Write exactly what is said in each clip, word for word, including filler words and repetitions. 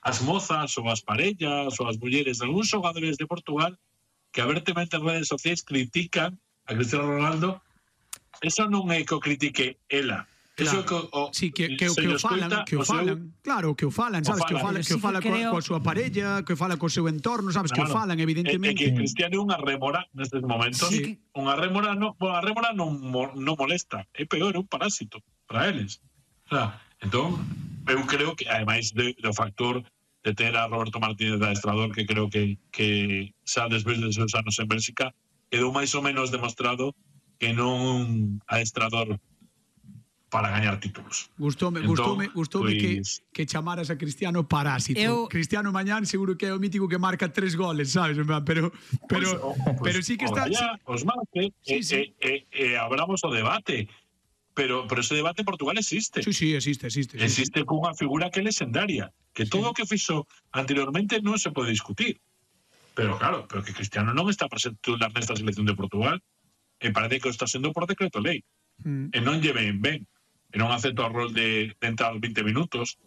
as mozas ou as parellas ou as mulleres de algúns xogadores de Portugal que abertamente en redes sociais critican a Cristiano Ronaldo. Eso non é que o critique ela. Eso Claro. que o, Sí, que, que, se que o llo falan, escoita, que o o seu- falan, claro, que o falan, sabes, que o falan. falan, que o Pero sí fala que coa, creo- coa súa parella, que o fala co seu entorno, sabes, que o Claro. falan, É, é evidentemente. que Cristiano é unha rémora nestes momentos. Sí. Unha rémora non, a rémora non, mo- non molesta, é peor, é un parásito para eles. O sea, entón, eu creo que, ademais de, do factor de ter a Roberto Martínez de adestrador, que creo que, que xa despois de seus anos en Bélxica, quedou máis ou menos demostrado que non adestrador para gañar títulos. Gustoume, Entón, gustoume, gustoume que, pois- que chamaras a Cristiano parásito. Eu- Cristiano mañán seguro que é o mítico que marca tres goles, sabes? En plan, Pero pero Pois, o- pero pois, sí que o está Gallá, os marque, Sí, e, sí. e, e, e abramos o debate. Pero, pero ese debate en Portugal existe. Sí, sí, existe, existe. sí, Existe cunha figura que é legendaria, que todo o que fixo anteriormente non se pode discutir. Pero claro, pero que Cristiano non está presente titular nesta selección de Portugal, e parece que o está sendo por decreto lei. sí. Mm. E non lle ven ben. E non acepta o rol de, de entrar veinte minutos,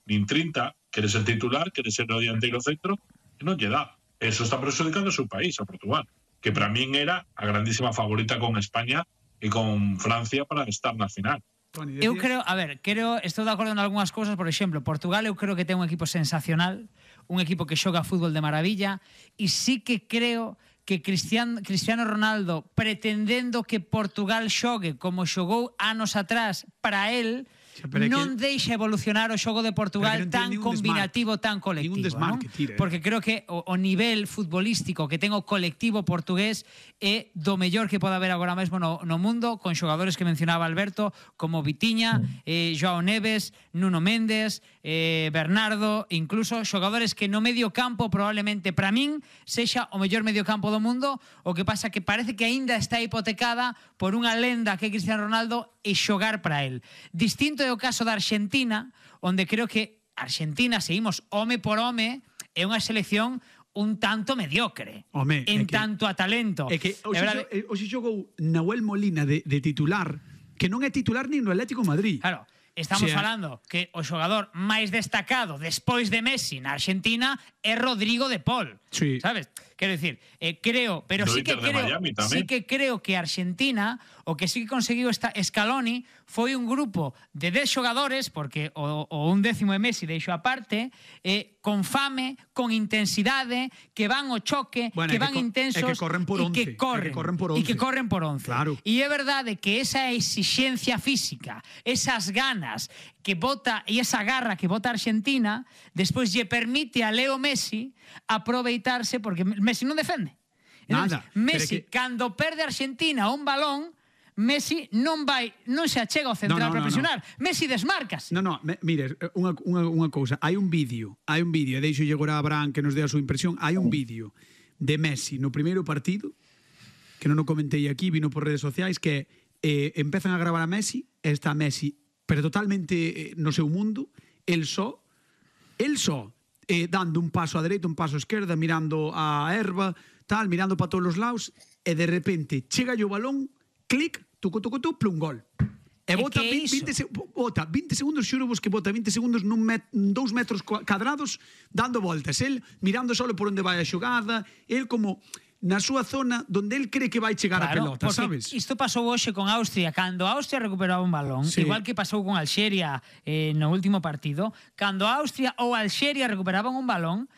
nin trinta, quere ser titular, quere ser o dianteiro centro, e non lle dá. Eso está perjudicando o seu país, a Portugal, que para min era a grandísima favorita con España e con Francia para estar na final. Toni, Eu decías? creo, a ver, creo, estou de acordo en algunhas cousas, por exemplo, Portugal eu creo que ten un equipo sensacional, un equipo que xoga fútbol de maravilla, e sí que creo que Cristiano, Cristiano Ronaldo, pretendendo que Portugal xogue como xogou anos atrás para él, Xa, pero é non que- deixa evolucionar o xogo de Portugal Pero que non tan tiene ningún combinativo, desmarque. tan colectivo. Ningún desmarque, non? tira, eh. Porque creo que o, o nivel futbolístico que ten o colectivo portugués é do mellor que pode haber agora mesmo no, no mundo, con xogadores que mencionaba Alberto, como Vitinha, eh, Joao Neves, Nuno Méndez, eh, Bernardo, incluso xogadores que no medio campo probablemente para min sexa o mellor medio campo do mundo. O que pasa que parece que aínda está hipotecada por unha lenda que é Cristiano Ronaldo e xogar para el. Distinto é o caso da Argentina, onde creo que Argentina, seguimos home por home, é unha selección un tanto mediocre. Home, é en que- tanto a talento. É que É hoxe, verdade- xo- eh, hoxe xogou Nahuel Molina de, de titular, que non é titular nin no Atlético de Madrid. Claro, estamos O sea, falando que o xogador máis destacado despois de Messi na Argentina é Rodrigo de Paul. Sí. Sabes? Quero dicir, eh, creo, pero Do sí que Inter de creo, Miami tamén. sí que creo que Argentina o que sí que conseguiu esta Scaloni foi un grupo de dez xogadores, porque o, o un décimo de Messi deixo aparte, eh, con fame, con intensidade, que van ao choque, Bueno, que e que van co- intensos e que corren por e once, que e que corren, corren por e que once. corren por once. Claro. E é verdade que esa exixencia física, esas ganas que bota e esa garra que bota a Argentina, despois lle permite a Leo Messi aproveitarse, porque Messi non defende. Entonces, Nada, Messi, pero que- cando perde a Argentina un balón, Messi non vai, non se achega ao central No, no, para no, presionar. Messi desmárcase. No, no, me, mire, unha, unha, unha cousa, hai un vídeo, hai un vídeo, e deixo llegar a Abraham que nos dé a súa impresión, hai un vídeo de Messi no primeiro partido, que non o comentei aquí, vino por redes sociais, que eh, empezan a gravar a Messi, e está Messi, pero totalmente eh, no seu mundo, el só, el só, eh, dando un paso a dereita, un paso a esquerda, mirando a erva, tal, mirando para todos os lados, e de repente chega o balón, clic, tucu, tucu, tucu, plum, gol. E E bota que vi- iso? vinte, se- bota vinte segundos, xuro vos que bota vinte segundos nun met, dous metros cua- cadrados dando voltas, el mirando solo por onde vai a xogada, el como na súa zona donde el cree que vai chegar a pelota, porque sabes? isto pasou hoxe con Austria, cando Austria recuperaba un balón, Sí. igual que pasou con Alxeria eh, no último partido, cando Austria ou Alxeria recuperaban un balón,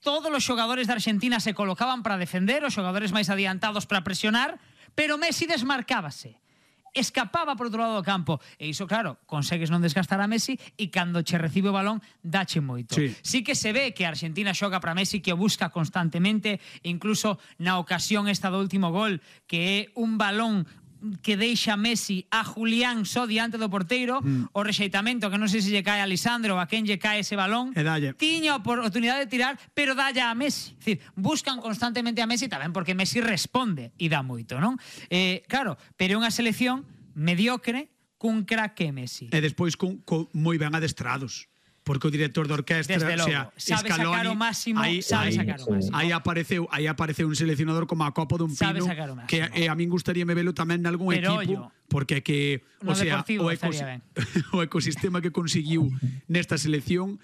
todos os xogadores de Argentina se colocaban para defender, os xogadores máis adiantados para presionar, pero Messi desmarcábase. Escapaba por outro lado do campo. E iso, claro, consegues non desgastar a Messi e cando che recibe o balón, dache moito. Sí. Sí que se ve que a Argentina xoga para Messi, que o busca constantemente, incluso na ocasión esta do último gol, que é un balón que deixa Messi a Julián só diante do porteiro, mm. o rexeitamento que non sei se lle cae a Lisandro ou a quen lle cae ese balón, E dalle. tiña a oportunidade de tirar, pero dalle a Messi. Es decir, buscan constantemente a Messi tamén porque Messi responde e dá moito, non? Eh, claro, pero é unha selección mediocre cun crack que é Messi. E despois con, con moi ben adestrados. Porque o director de orquestra, Desde logo, o sea, sabe Scaloni, sacar o máximo, sabe sacar o máximo. Aí apareceu, aí apareceu un seleccionador como a Copa dun Sabe Pino, sacar o máximo. que eh, a min gustaríame velo tamén nalgún Pero equipo, ollo, porque é que, o no sea, Deportivo o, ecos, estaría ben. o ecosistema que conseguiu nesta selección